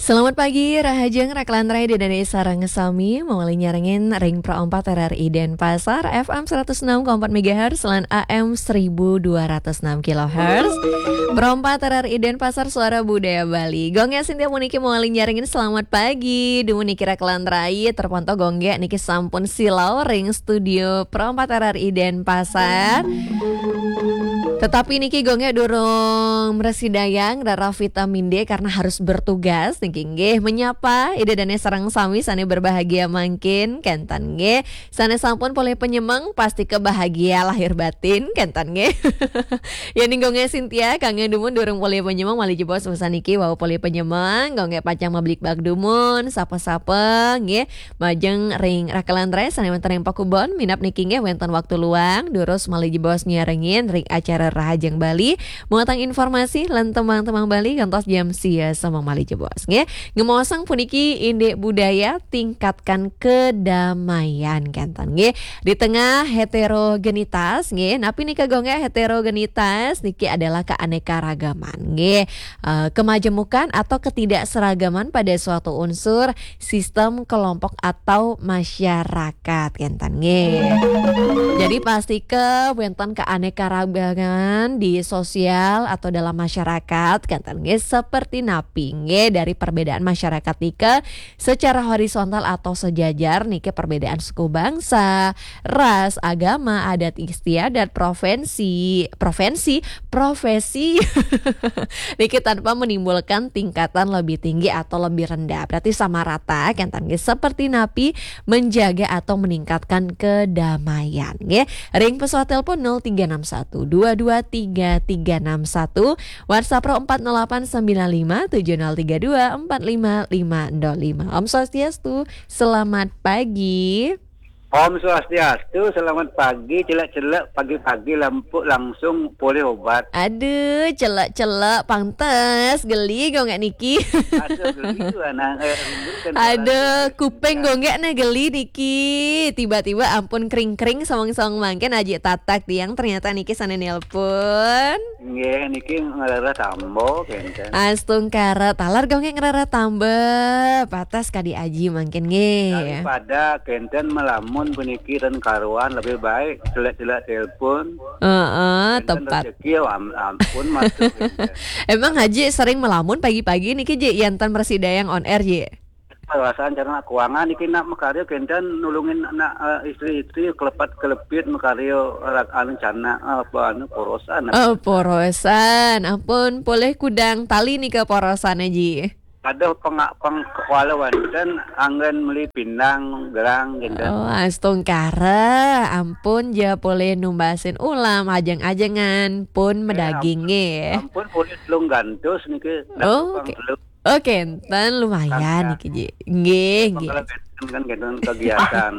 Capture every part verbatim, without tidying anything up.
Selamat pagi, rahajeng rakelan rai Ida dané sareng sami, mawali nyarengin ring Pro empat R R I Denpasar, F M seratus enam koma empat megahertz lan A M seribu dua ratus enam kilohertz. Pro empat R R I Denpasar, Suara Budaya Bali. Gung Gé Sintia puniki mawali nyarengin selamat pagi. Dumun niki rakelan rai, terpantau Gung Gé niki sampun silau ring studio Pro empat R R I Denpasar. Tetapi niki Gung Gé durung mrasidayang rara vitamin D karena harus bertugas niki nggih. Menyapa Ida dané sareng sami sané berbahagia mangkin, kénten nggih. Sané sampun polih panyemeng, pastika bahagia lahir batin, kénten nggih. Yéning Gung Gé Sintia, kangge dumun durung polih panyemeng, malih jebos sané niki wau polih panyemeng, Gung Gé pacang mablikbak dumun, sapa-sapa nggih. Majeng ring rakelan rai sané wénten ring pakubon, minab niki nggih wénten waktu luang, durus malih jebos nyarengin ring acara Rahajeng Bali, muatan informasi lan tembang-tembang Bali kantos jam sia semeng malih jebos nggih. Ngemaosang puniki indik budaya tingkatkan kedamaian, kénten nggih. Di tengah heterogenitas nggih, napi nika Gung Gé heterogenitas? Niki adalah keanekaragaman nggih. Eh, kemajemukan atau ketidakseragaman pada suatu unsur, sistem, kelompok atau masyarakat, kénten nggih. Jadi pastika wénten keanekaragaman di sosial atau dalam masyarakat, kénten nggih, seperti napi nggih dari perbedaan masyarakat nika secara horizontal atau sejajar niki, perbedaan suku bangsa, ras, agama, adat istiadat, provinsi, provinsi, profesi niki tanpa menimbulkan tingkatan lebih tinggi atau lebih rendah. Berarti sama rata, kénten nggih, seperti napi menjaga atau meningkatkan kedamaian nggih. Ring pesawat telepon nol tiga enam satu dua dua tiga tiga enam satu, WhatsApp Pro empat nol delapan sembilan lima tujuh nol tiga dua empat lima lima nol lima. Om Swastiastu, selamat pagi. Om Swastiastu, selamat pagi, celek-celek pagi-pagi lampu langsung polih obat. Aduh, celek-celek, pantes geli Gung Gé niki. Aduh, geli tuh anak, eh, rindu kan. Aduh, orang kuping Gung Gé nah geli niki. Tiba-tiba ampun kring-kring sawang-sawang mangkin Aji Tatak tiang, ternyata niki sané nelpon. Nggih, niki ngrereh tamba kénten. Astungkara, taler Gung Gé ngrereh tamba. Patas kadi Aji mangkin nggih. Daripada kénten melamun puniki ten karuan, lebih baik celek-celek telepon. Heeh, kénten tepat. Rezeki ya am-, ampun masuk kénten. Emang Aji sering melamun pagi-pagi niki, Ji, yén ten mrasidayang on air, Ji? Perasaan cara nak keuangan niki nak makarya kénten nulungin anak, eh, istri-istri kelepat-kelepit makarya rak-, anu, canak, eh, apa anu, porosan. Oh, porosan. Ampun, polih kudang tali nika porosan, Aji. Aduh, pengak peng kuala wénten anggen meli pindang gerang kénten. Oh, astungkara. Ampun ja polih numbasin ulam, ajeng-ajengan pun madaging nggih. Ampun polih telung gantus niki. Oh, pang oke. Telung. Oke, kénten lumayan niki, Ji. Nggih, nggih. Kalau kénten kan kénten kegiatan.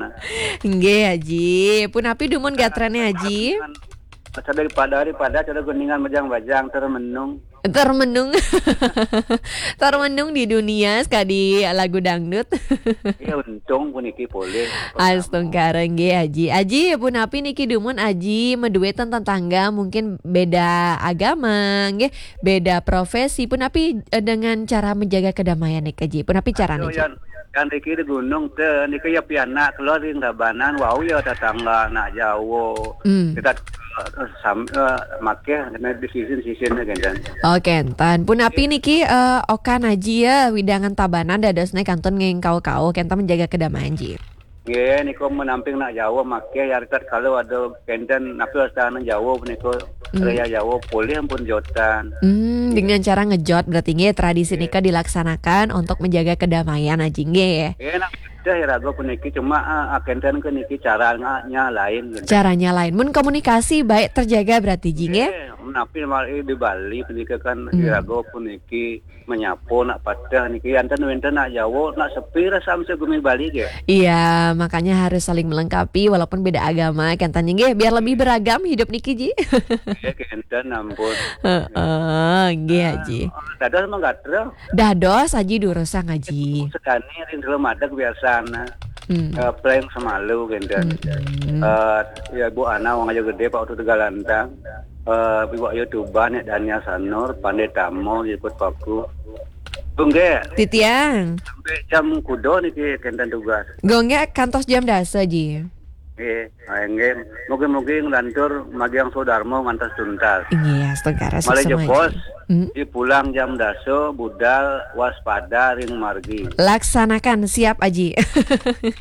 Nggih, Aji. Punapi dumun gatrané, Aji? Cara daripada, daripada cara gendingan bajang-bajang, termenung. Termenung. Termenung di dunia, sekadi lagu dangdut. Iya, untung puniki polih. Astungkara nggih, Aji. Aji, punapi niki dumun Aji madué ten tetangga, mungkin beda agama, nggih, beda profesi. Punapi, eh, dengan cara menjaga kedamaian niki, Ji? Punapi carané, Ji? Yang, yang niki di gunung téh, niki ya pianak keluar ring Tabanan, wau ya tetangga anak jauh. Hmm. Kita, eh, sam-, eh, maké kena di sisin-sisin kénten. Oke, kénten. Punapi niki, eh, okan Aji ya, wewidangan Tabanan dadosné kantun ngengkau-kau, kénten menjaga kedamaian, Ji. Nggih, niku menamping nak Jawa maké, ya, tatkala ada kénten napi wastane Jawa punika, hmm, raya Jawa polih ampun jotan. Hmm, nggih. Dengan cara ngejot berarti nggih, tradisi, nggih, nika dilaksanakan untuk menjaga kedamaian, Aji, nggih. Nggih, nak iraga puniki cuma, ah, ah, kénten ke niki caranya lain gitu. Caranya lain. Mun komunikasi baik terjaga berarti, Ji, nggih? Nggih, menapi di Bali punika kan, hmm, iraga puniki menyapa nak pateh niki, yanten wénten nak Jawa, nak sepi rasa mesti gumi Bali nggih. Iya, makanya harus saling melengkapi walaupun beda agama, kénten nggih, biar lebih beragam hidup niki, Ji. Nggih, kénten ampun. Heeh, nggih, Aji. Dados mangga gatra. Dados, Aji, durusang, Aji. Sedani ring dalam adat biasana. Hmm. Eh, playing semalu kénten. Hmm. Eh, ya, Bu Ana, Wong Ayu Gedé, Pak Utu Tegalantang. Eh, Ibu Ayu Tuban, Nek Dania Sanur, Pandé Tamo, Ikut Paku. Gung Gé. Titiang. Sampai jam kudo niki kenten tugas. Gung Gé kantos jam dasa, Ji. Nggih, ah, nggih. Mugi-mugi nglantur magiang sodarmo ngantos tuntas. Nggih, astungkara. Malih suksma, jebos, Ji. Hmm. Dipulang jam dasa, budal waspada ring margi. Laksanakan, siap, Aji.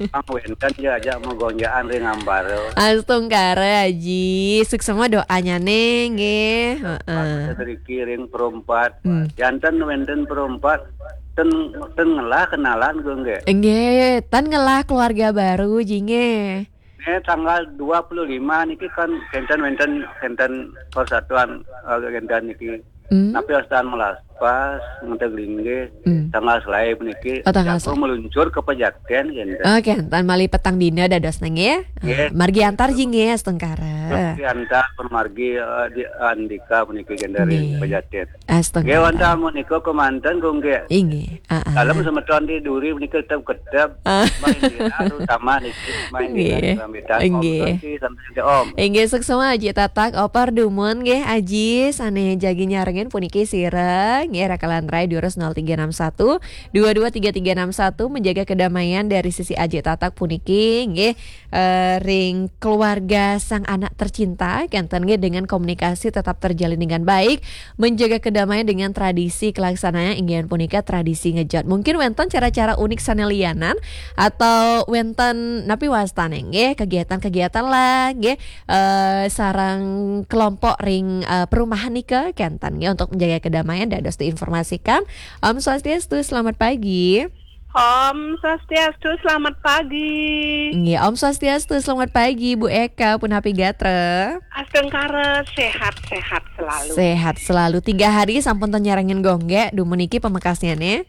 Pang wénten ya ajak magonjakan ring ambara. Astungkara, Aji. Suksma doanya nih, nggih. Heeh. Sedriki ring perempat. Hmm. Janten wénten perempat, ten, ten ngelah kenalan, Gung Gé. Nggih, ten ngelah keluarga baru, Ji, nggih. Eh, tanggal dua puluh lima niki kan kenten wénten, kenten persatuan, eh, kenten niki. Hmm. Napi wastan melas pas ngenteg linggih. Hmm. Tanggal selaé puniki. Oh, tanggal jago selaé. Meluncur ke Pejaten kenten. Oke, tan malih petang dina dados nang ya. Nggih. Ah, margi antar, Ji, nggih, astungkara. Margi antar, pun margi, eh, di Andika puniki kenten ring Pejaten. Nggih. Astungkara. Nggih, wantah menika kemanten, Gung Gé. Inggih. Ah, ah. Dalem semeton di duri menika tetep kedep. Ah. Main dira, terutama niki, main dira, nggih. Sambitan, Om. Nggih. Santi, santi, Om. Inggih, suksma Aji Tatak, Opar dumun nggih, Aji, sané jagi nyarengin puniki sira, nggih, rakalan rai durus nol tiga enam satu, dua dua tiga tiga enam satu, menjaga kedamaian dari sisi Aji Tatak puniki, nggih. Eh, ring keluarga sang anak tercinta, kenten nggih, dengan komunikasi tetap terjalin dengan baik, menjaga kedamaian dengan tradisi kelaksanaan inggih punika tradisi ngejot. Mungkin wénten cara-cara unik sané lianan atau wénten napi wastané nggih, kegiatan-kegiatan lah nggih, eh, sareng kelompok ring, eh, perumahan nika kenten nggih untuk menjaga kedamaian dados diinformasikan. Om Swastiastu, selamat pagi. Om Swastiastu, selamat pagi. Nggih, Om Swastiastu, selamat pagi, Bu Eka, punapi gatra? Astungkara, sehat-sehat selalu. Sehat selalu. Tiga hari sampun ten nyarengin Gung Gé, dumun niki pamekasnyané?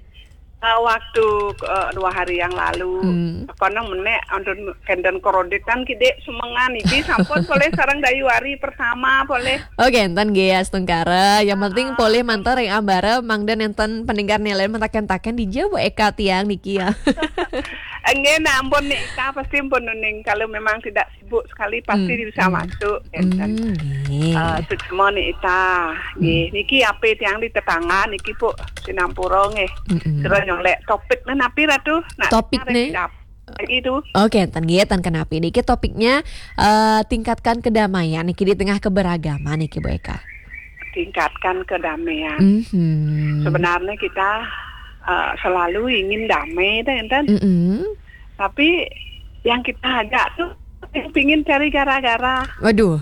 Eh, waktu, eh, dua hari yang lalu. Hmm. Kono menék, antun kenten kreditan kidik semengan iki sampun polih sareng Dayu hari pertama polih. Oh, kenten nggih, astungkara. Yang penting, ah, polih mantar ring ambara, mangda nénten peningkatan nilai mentaken-taken dija, Bu Eka, tiang niki ya. Nggih, nah, ampun Ni Ita, pasti ampun uning. Kalau memang tidak sibuk sekali, pasti, hmm, bisa, hmm, masuk, kenten. Hmm, nggih. Eh, suksma Ni Ita. Nggih, hmm, niki ape tiang di tetangga niki, Bu, sinampura nggih. Mm-mm. Sira nyolek topik napi, Ratu? Nak topik narik nih. Dap-, itu. Oke, ten nggih, ten kenapi niki topiknya, eh, tingkatkan kedamaian niki di tengah keberagaman niki, Bu Eka. Tingkatkan kedamaian. Mhm. Sebenarnya kita, eh, selalu ingin damai, ten, ten. Mm-mm. Tapi yang kita ajak tuh yang pingin cari gara-gara. Waduh.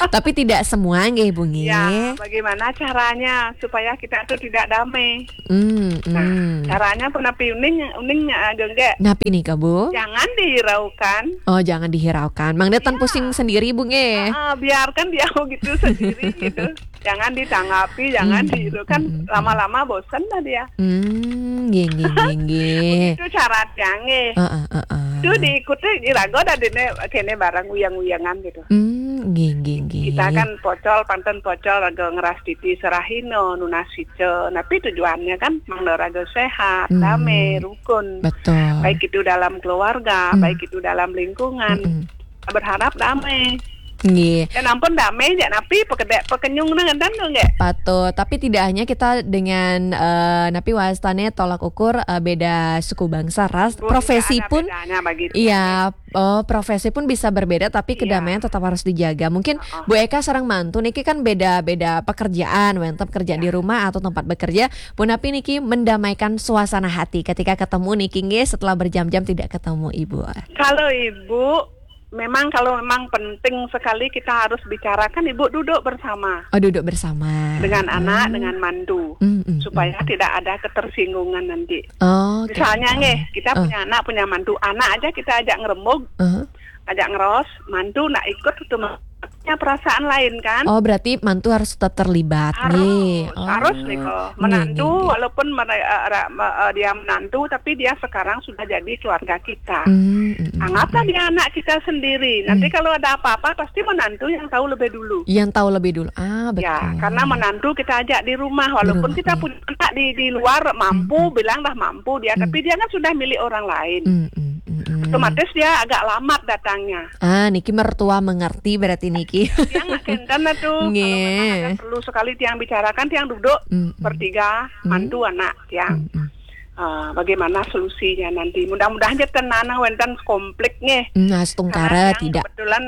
Tapi tidak semua nggih, Bu, nggih. Ya, bagaimana caranya supaya kita tuh tidak damai? Hmm, nah, hmm, caranya punapi uning, uning, eh, Gung Gé? Napi nika, Bu? Jangan dihiraukan. Oh, jangan dihiraukan. Mangda ten, ya, pusing sendiri, Bu, nggih. Ah, ah, biarkan dia begitu sendiri gitu. Jangan ditanggapi, jangan, hmm, di-, itu kan, hmm, hmm, lama-lama bosen dah dia. Hmm, nggih, nggih, nggih, nggih. Begitu syaratnya, nggih. Heeh, heeh. Itu diikuti, diraga dah dene, kene barang uyang-uyangan gitu. Hmm, nggih, nggih, nggih. Kita kan pocol, panten pocol, raga ngeras titi serahina, nunas ica. Tapi tujuannya kan mangda raga sehat, hmm, damai, rukun. Betul. Baik itu dalam keluarga, hmm, baik itu dalam lingkungan. Mm-mm. Berharap damai. Nggih. Dan ampun damai, jak napi, pekedek, pekenyung nang enten tu, nggih. Patut. Tapi tidak hanya kita dengan, eh, napi wastane tolak ukur, eh, beda suku bangsa, ras, Bu, profesi tidak ada pun bedanya bagi dia. Iya, oh, profesi pun bisa berbeda, tapi, iya, kedamaian tetap harus dijaga. Mungkin, heeh, Bu Eka sareng mantu niki kan beda-beda pekerjaan, wenten pekerjaan, iya, di rumah atau tempat bekerja. Punapi niki mendamaikan suasana hati ketika ketemu niki, nggih, setelah berjam-jam tidak ketemu, Ibu? Kalau Ibu, memang kalau memang penting sekali kita harus bicarakan, Ibu duduk bersama. Oh, duduk bersama. Dengan anak, hmm, dengan mantu. Hmm, hmm, supaya, hmm, tidak ada ketersinggungan nanti. Oh, oke. Misalnya, oke, nggih, kita, oh, punya anak, punya mantu, anak aja kita ajak ngerembug, uh-huh, ajak ngeros, mantu nak ikut itu punya perasaan lain, kan? Oh, berarti mantu harus tetap terlibat, harus, nggih. Oh, harus nih, kok. Nggih, menantu, nggih, nggih, walaupun mere-, eh, ra-, me-, eh, dia menantu, tapi dia sekarang sudah jadi keluarga kita. Hmm, mm, mm, anggaplah, mm, dia anak kita sendiri. Nanti, mm, kalau ada apa-apa, pasti menantu yang tahu lebih dulu. Yang tahu lebih dulu. Ah, ya, betul. Karena menantu kita ajak di rumah, walaupun, di rumah, kita, iya, punya anak di, di luar, mampu, mm, mm, bilang dah mampu dia, mm, tapi dia kan sudah milik orang lain. Mm, mm, mm, mm. Hmm. Otomatis dia agak lambat datangnya. Ah, niki mertua mengerti berarti niki. Tiang nak kenten lah tu. Nggih. Kalau memang ada perlu sekali tiang bicarakan, tiang duduk bertiga, mantu anak tiang. Ah, bagaimana solusinya nanti? Mudah-mudahan aja ten nang wenten konflik nggih. Hmm, astungkara. Karena tiang tidak. Kebetulan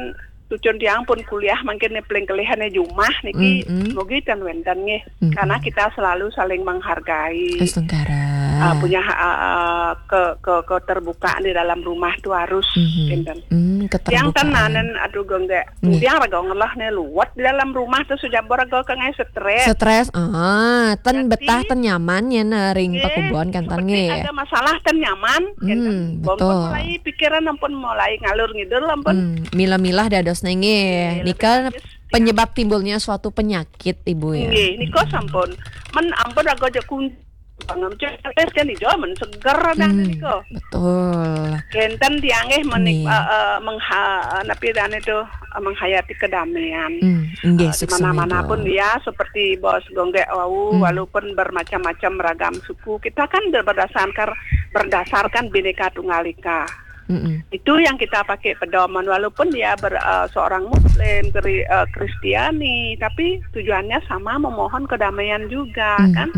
cucun tiang pun kuliah mangkin nih paling kelihatan di rumah niki, mugi ten wenten nggih. Karena kita selalu saling menghargai. Astungkara. Ah, punya ha-, ah, ke, ke, keterbukaan di dalam rumah tu harus, kenten. Hmm, keterbukaan. Tiang ten nanen, aduh, gongge. Nggih. Tiang raga ngelah nih luwet di dalam rumah tu sujabor raga ke ngai stres. Stres, ah, ten betah, ten nyaman ya, nah, ring pakubon kenten nggih. Ada masalah ten nyaman, kenten. Hmm, betul. Ampun mulai pikiran ampun mulai ngalur ngidul ampun. Hmm, milah-milah dados nggih. Nggih, nika lebih bagus penyebab timbulnya suatu penyakit, Ibu, ya. Nggih, nika sampun. Men ampun raga aja kun-, bangun stres kan ijo men seger dah nika. Betul. Kenten tiang nggih menik-, eh, eh, mengha-, eh, napi dane tu, eh, menghayati kedamaian. Hmm, nggih, eh, di mana-mana pun ya, seperti Bos Gonggek wau, walaupun bermacam-macam ragam suku, kita kan ber-, berdasarkan, berdasarkan Bhinneka Tunggal Ika. Itu yang kita pakai pedoman, walaupun dia ber-, eh, seorang Muslim, Kri-, eh, Kristiani, tapi tujuannya sama, memohon kedamaian juga, kan?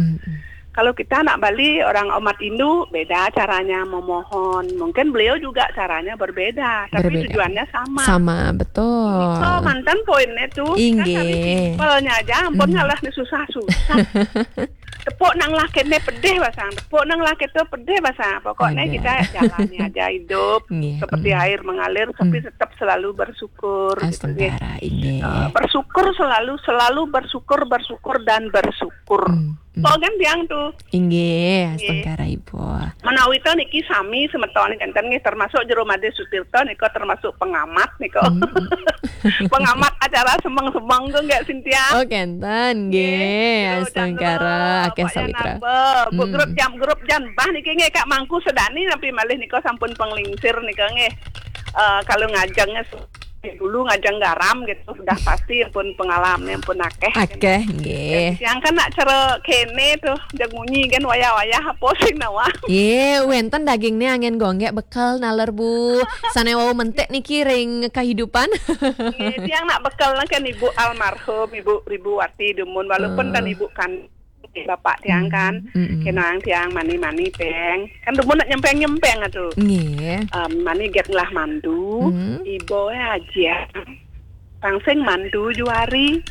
Kalau kita nak Bali, orang umat Hindu, beda caranya memohon. Mungkin beliau juga caranya berbeda, tapi tujuannya sama. Sama, betul. Itu mantan poinnya tu, kan kami simpelnya aja, ampun ngalah ni susah-susah. Tepuk nang lakene pedih basang, tepuk nang lake tu pedih basang. Pokoknya kita jalani aja hidup seperti air mengalir, tapi tetap selalu bersyukur, gitu, nggih. Astungkara, inggih. Eh, bersyukur selalu, selalu bersyukur, bersyukur dan bersyukur. Kok kan tiang tu? Inggih, astungkara, Ibu. Menawi to niki sami semeton kenten nggih, termasuk Jero Madé Sutirta nika termasuk pengamat nika. Pengamat acara semeng-semeng tu nggih, Sintia? Oh, kenten nggih. Astungkara, akeh sawitra. Bu Grup Jam, Grup Jam Bah niki nggih, Kak Mangku Sedani nampi malih nika sampun penglingsir nika nggih. Eh, kalau ngajengnya dulu ngajeng garam gitu, sudah pasti pun pengalaman pun akeh. Akeh, nggih. Yang kan nak cara kene tu, jeng munyi kan wayah-wayah apa sing nawa. Ye, wenten daging ni angin gonggek bekel naler, Bu. Sane wau mentik niki ring kehidupan. Nggih, tiang nak bekel kan Ibu almarhum, Ibu Ribuwati dumun, walaupun kan Ibu kan bapak tiang kan, kenang tiang mani-mani peng. Kan dumun nak nyempeng-nyempeng atu. Nggih. Em, mani get ngelah mandu, ibu ya aja. Pangsing mandu juari.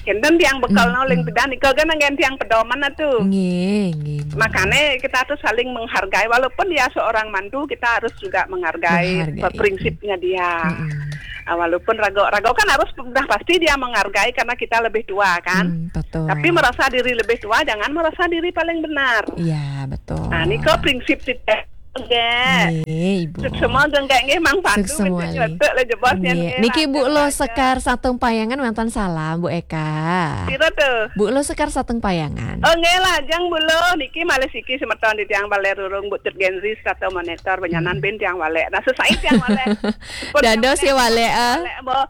Kenten tiang bekel noling pedan, iko kan anggen tiang pedoman atu. Nggih, nggih, Bu. Makanya kita tuh saling menghargai, walaupun dia seorang mantu, kita harus juga menghargai prinsipnya dia. Ah, walaupun rago, rago kan harus sudah pasti dia menghargai karena kita lebih tua kan. Hmm, betul. Tapi merasa diri lebih tua, jangan merasa diri paling benar. Iya, betul. Nah, niko prinsip tidak. Nggih, Ibu. Suksma nggih, nggih, Mang Pandu. Suksma nggih. Niki Bu Lo Sekar Satung Payangan wonten salam, Bu Eka. Pira tuh? Bu Lo Sekar Satung Payangan. Oh, nggih, lajeng Bu Lo. Niki malih siki semeton di tiang Baler Rurung, Bu Tut Genzi, Sato Monitor, Benyanan bin tiang Walek. Nah, sesai tiang Walek. Dados ya Walek, ah. Walek, Bu.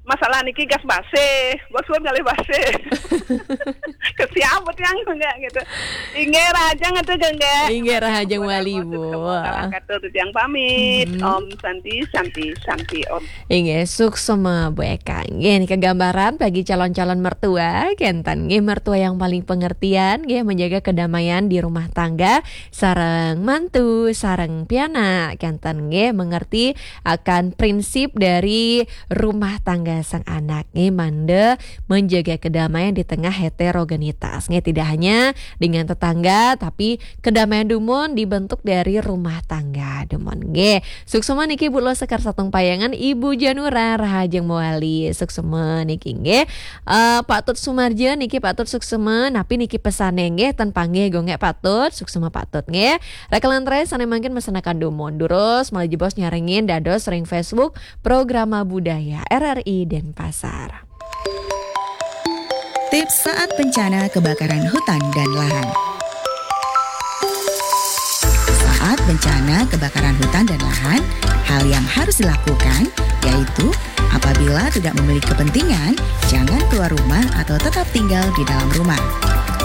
Masalah niki gas base, bos pun kali base. Kesiam tiang enggak gitu. Inggih rahajeng atuh, Gengge. Inggih rahajeng wali, Bu. Katur tiang pamit. Om Santi, Santi, Santi, Om. Inggih, suksma Bu Eka. Inggih, niki gambaran bagi calon-calon mertua, kenten nggih mertua yang paling pengertian, nggih menjaga kedamaian di rumah tangga, sareng mantu, sareng pianak, kenten nggih mengerti akan prinsip dari rumah tangga sang anak nggih, mangda menjaga kedamaian di tengah heterogenitas nggih, tidak hanya dengan tetangga tapi kedamaian dumun dibentuk dari rumah tangga dumun nggih. Suksma niki Bu Lo Sekar Satung Payangan, Ibu Janura rahajeng mawali. Suksma niki nggih. Eh, Pak Tut Sumarja niki Pak Tut suksma, napi niki pesane nggih, ten panggih gonggek Pak Tut, suksma Pak Tut nggih. Rekalantre sane mangkin mesenakan dumun. Durus malih jebos nyarengin dados ring Facebook Programa Budaya R R I Denpasar. Tips saat bencana kebakaran hutan dan lahan. Saat bencana kebakaran hutan dan lahan, hal yang harus dilakukan yaitu apabila tidak memiliki kepentingan, jangan keluar rumah atau tetap tinggal di dalam rumah.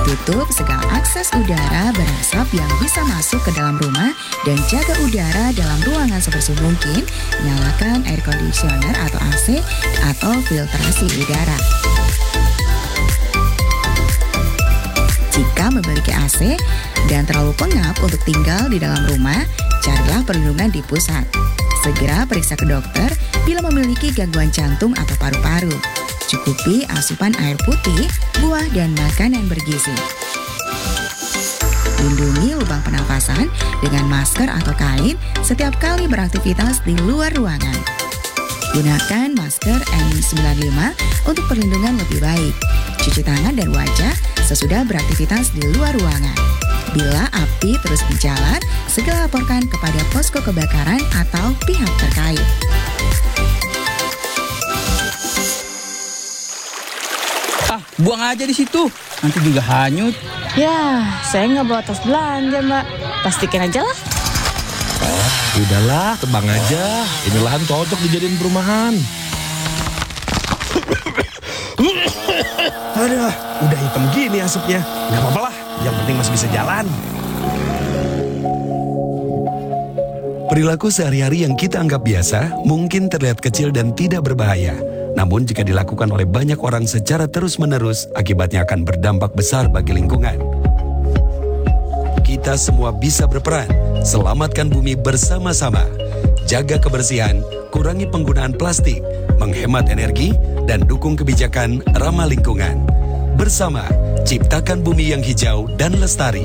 Tutup segala akses udara berasap yang bisa masuk ke dalam rumah dan jaga udara dalam ruangan sebersih mungkin. Nyalakan air conditioner atau A C atau filtrasi udara. Jika memiliki A C dan terlalu pengap untuk tinggal di dalam rumah, carilah perlindungan di pusat. Segera periksa ke dokter bila memiliki gangguan jantung atau paru-paru. Cukupi asupan air putih, buah, dan makanan bergizi. Lindungi lubang pernafasan dengan masker atau kain setiap kali beraktivitas di luar ruangan. Gunakan masker N sembilan lima untuk perlindungan lebih baik. Cuci tangan dan wajah sesudah beraktivitas di luar ruangan. Bila api terus menjalar, segera laporkan kepada posko kebakaran atau pihak terkait. Ah, buang aja di situ. Nanti juga hanyut. Ya, saya nggak bawa tas belanja, Mbak. Plastikin aja lah. Udahlah, tebang aja. Ini lahan cocok dijadiin perumahan. Aduh, udah hitam gini asapnya. Nggak apa-apa lah, yang penting masih bisa jalan. Perilaku sehari-hari yang kita anggap biasa mungkin terlihat kecil dan tidak berbahaya. Namun jika dilakukan oleh banyak orang secara terus-menerus, akibatnya akan berdampak besar bagi lingkungan. Kita semua bisa berperan. Selamatkan bumi bersama-sama. Jaga kebersihan, kurangi penggunaan plastik, menghemat energi, dan dukung kebijakan ramah lingkungan. Bersama, ciptakan bumi yang hijau dan lestari.